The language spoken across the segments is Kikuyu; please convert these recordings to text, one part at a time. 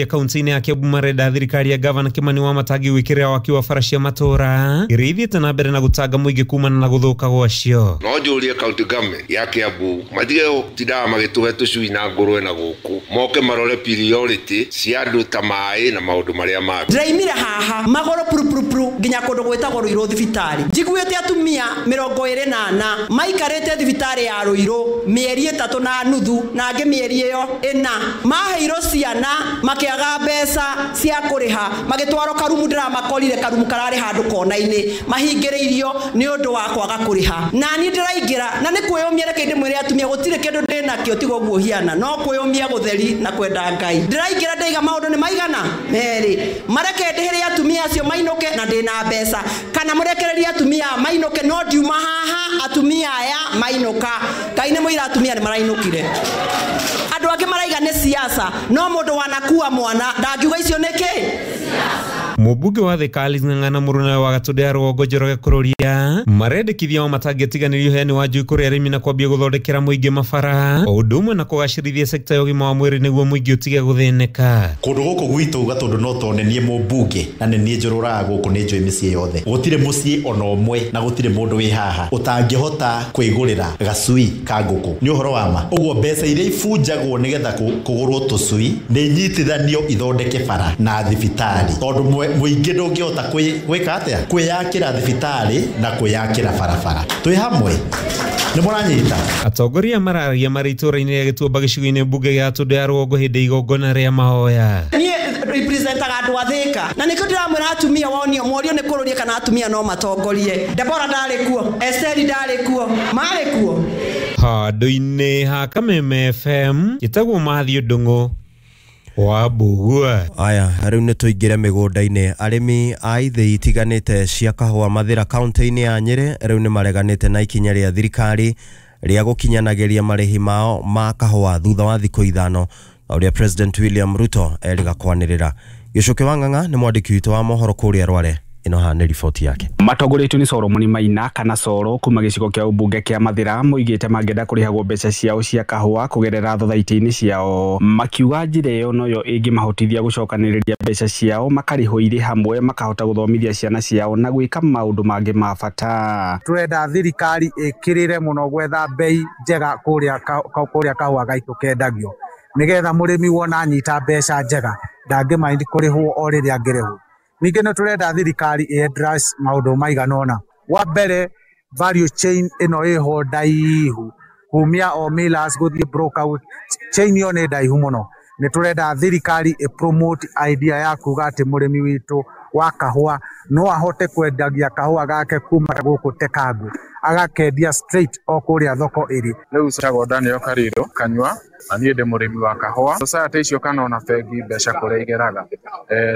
Kaunti-inĩ ya Kiambu marenda thirikari ya gavana Kimani Wamatangi gwĩkĩrĩra waki wa bara cia matũra iria ithiĩte na mbere na gũtanga mũingĩ kumana na gũthũka gwacio. No njũrie county government ya Kiambu matige gũtindaga magĩtũhe tũcui na ngũrwe na gũkũ, moke marore priority cia andũ ta maĩ na maũndũ marĩa mangĩ. Ndĩraimire haha magũrũ purupurupuru nginya kũndũ gwĩtagwo Ruiru thibitarĩ, njiguĩte atumia 24 maikarĩte thibitarĩ ya Ruiru mĩeri 3.5 na angĩ mĩeri ĩyo 4, maheirwo ciana makĩaga mbeca cia kũrĩha, magĩtwarwo karumu. Ndĩramakorire karumu kararĩ handũ kona-inĩ, mahingĩrĩirio nĩ ũndũ wa kwaga kũrĩha. Na niĩ ndĩraingĩra na nĩ kwĩyũmia, reke ndĩmwĩre atumia gũtirĩ kĩndũ ndĩnakĩo tiga ũguo hiana, no kwĩyũmia gũtheri na kwenda Ngai. Ndĩraingĩra ndaiga maũndũ nĩ maigana merĩ, mareke ndĩhĩre atumia acio mainũke na ndĩna mbeca, kana mũrekererie atumia mainũke, no ndiuma haha atumia aya mainũka. Ngai nĩ mũira atumia nĩ marainũkire. Andũ angĩ maraiga nĩ siasa, no mũndũ wanakua mwana ndangiuga icio nĩ kĩ. Mũmbunge wa Thika Alice Ng'ang'a mũruna wa Gatũndũ ya Rũgongo Njoroge Kururia marendekithia o matangĩtiganĩria ũheani wa njui kũrĩ arĩmi na kwambia gũthondekera mũingĩ mabara o ũndũ ũmwe na kũgacĩrithia sekta ya ũgima wa mwĩrĩ nĩguo mũingĩ ũtige gũthĩnĩka. Kũndũ gũkũ gwitũ Gatũndũ no tondũ nĩ niĩ mũmbunge na nĩ niĩ njũrũraga gũkũ, nĩ njũĩ mĩciĩ yothe, gũtirĩ mũciĩ ona ũmwe na gũtirĩ mũndũ wĩ haha ũtangĩhota kwĩgũrĩra gacui ka ngũkũ. Nĩ ũhoro wa ma. Ũguo mbeca iria ibunjagwo nĩgetha kũgũrwo tũcui nĩ nyitithanio ithondeke bara na thibitarĩ, tondũ mũingĩ ndũngĩhota gwĩka atĩa, kwĩyakĩra thibitarĩ na kwĩyakĩra barabara. Twĩ hamwe, nĩ mũranyita. Atongoria mararagia marĩ itũra-inĩ rĩa Gĩtuamba gĩcigo-inĩ mbunge gĩa Gatũndũ ya Rũgongo hĩndĩ igongona rĩa mahoya. Niĩ representaga andũ a Thika na nĩkĩo ndĩramwĩra atumia wonio mworio nĩ kũrũria kana atumia no matongorie. Debora ndarĩ kuo, Esteri ndarĩ kuo, marĩ kuo. Handũ-inĩ ha Kameme FM ĩtagwo Mathiũ Ndung'u wa Mbugua. Aya, rĩu nĩ tũingĩre mĩgũnda-inĩ. Arĩmi a ithĩi itiganĩte cia kahũa Mathĩra kaunti-inĩ ya Nyĩrĩ rĩu nĩ mareganĩte na ikinya rĩa thirikari rĩa gũkinyanagĩria marĩhi mao ma kahũa thutha wa thikũ 5 na ũrĩa President William Ruto erĩga kwanĩrĩra. Gĩcũkĩ wa Ng'ang'a nĩ mwandĩki witũ wa mohoro kũrĩa Rware. Ĩno haha nĩ riboti yake. Matongoretio nĩ Solomon Maina kana Soro kuma gĩcigo kĩa ũmbunge kĩa Mathĩra moigĩte mangĩenda kũrĩhagwo mbeca ciao cia kahũa kũgerera thothaitĩ-inĩ ciao, makiuga njĩra ĩyo noyo ĩngĩmahotithia gũcokanĩrĩria mbeca ciao makarĩhwo irĩ hamwe, makahota gũthomithia ciana ciao na gwĩka maũndũ mangĩ ma bata. Tũrenda thirikari ĩkĩrĩre mũno gwetha mbei njega kũrĩa kahũa gaitũ kendagio, nĩgetha mũrĩmi wona anyita mbeca njega ndangĩmaindi kũrĩhwo o rĩrĩa angĩrĩhwo. Ningĩ nĩ tũrenda thirikari ĩ address maũndũ maigana ũna. Wa mbere, value chain ĩno ĩho ndaihu, kumia o millers gũthiĩ broker, chain ĩyo nĩ ndaihu mũno. Nĩ tũrenda thirikari ĩ promote idea ya kuga atĩ mũrĩmi witũ wa kahũa no ahote kwendagia kahũa gake kuma gũkũ Tekangu agakendia straight o kũrĩa thoko ĩrĩ. Rĩu njĩtagwo Daniel Kariro Kanyua na niĩ ndĩ mũrĩmi wa kahũa. Society icio kana ona bengi mbeca kũrĩa igeraga,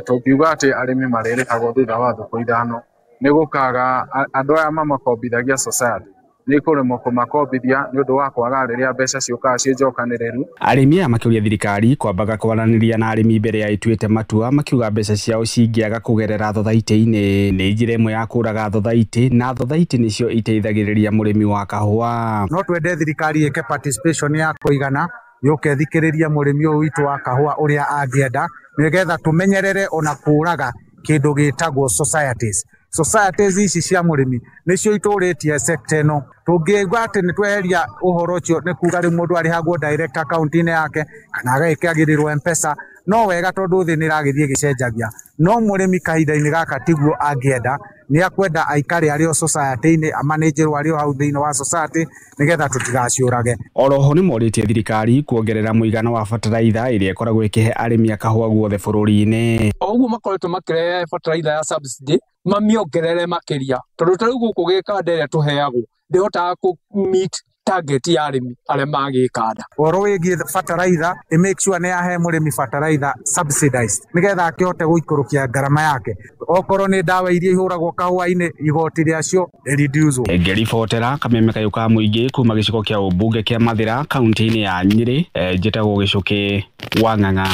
tũngiuga atĩ arĩmi marĩrĩhagwo thutha wa thikũ 5 nĩ gũkaga andũ aya mamakombithagia society nĩ kũremwo kũmakombithia nĩ ũndũ wa kwaga rĩrĩa mbeca ciũkaga ciĩ njokanĩrĩru. Arĩmi aya makĩũria thirikari kwambaga kwaranĩria na arĩmi mbere ya ĩtuĩte matua, makiuga mbeca ciao cingĩaga kũgerera thothaitĩ-inĩ nĩ njĩra ĩmwe ya kũraga thothaitĩ, na thothaitĩ nĩcio iteithagĩrĩria mũrĩmi wa kahũa. No twende thirikari ĩke participation ya kũigana yũke ĩthikĩrĩrie mũrĩmi ũyũ witũ wa kahũa ũrĩa angĩenda, nĩgetha tũmenyerere ona kũraga kĩndũ gĩtagwo societies. Societies ici cia mũrĩmi nĩcio itũrĩtie sector ĩno. Tũngĩigua atĩ nĩ tweheria ũhoro ũcio nĩ kuga rĩu mũndũ arĩhagwo direct account-inĩ yake kana agekĩagĩrĩrwo M-Pesa, no wega tondũ thĩ nĩ ĩragĩthiĩ ĩgĩcenjagia. No mũrĩmi kahinda-inĩ gaka tiguo angĩenda, nĩ akwenda aikare arĩ o society-inĩ, amanĩnjĩrwo arĩ o hau thĩinĩ wa society nĩgetha tũtigaciũrage. Oroho nĩ morĩtie thirikari kuongerera mũigana wa bataraitha ĩrĩa ĩkoragwo ĩkĩhe arĩmi a kahũa guothe bũrũri-inĩ. O ũguo makoretwo makĩrehe bataraitha ya subsidy mamĩongerere makĩria, tondũ ta rĩu gũkũ gĩkanda ĩrĩa tũheagwo ndĩhotaga kũ meet target ya arĩmi arĩa magĩkanda. Ũhoro wĩgiĩ bataraitha, ĩ make sure nĩ yahe mũrĩmi bataraitha subsidized nĩgetha akĩhote gũikũrũkia ngarama yake. Okorwo nĩ ndawa iria ihũragwo kahũa-inĩ, igoti rĩacio reduce. Ngĩribotera Kameme kayũ ka mũingĩ kuma gĩcigo kĩa ũmbunge kĩa Mathĩra kaunti-inĩ ya Nyĩrĩ, njĩtagwo Gĩcũkĩ wa Ng'ang'a.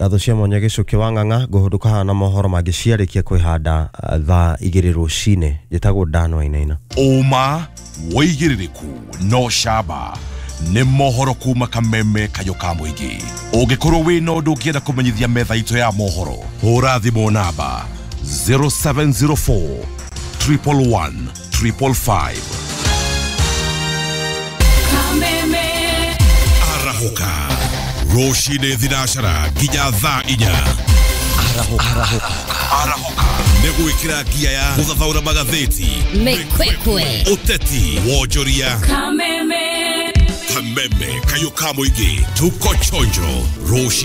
Ngatho cia mwanya Gĩcũkĩ wa Ng'ang'a. Ngũhũndũka haha na mohoro mangĩ ciarĩkia kwĩhanda thaa 2 rũcinĩ. Njĩtagwo Dan Wainaina. Ũma, wĩigĩrĩrĩku no camba. Nĩ mohoro kuma Kameme kayũ ka mũingĩ. Ũngĩkorwo wĩna ũndũ ũngĩenda kũmenyithia metha itũ ya mohoro, hũra thimũ namba 0704 111 555. Arahũka rũcinĩ thinacara nginya thaa 4. Arahũka nĩ gwĩkĩra ngia ya gũthathaũra magathĩti, Mĩkwekwe, ũteti, wonjoria. Kameme. Kameme kayũ ka mũingĩ, tuko chonjo rũcinĩ.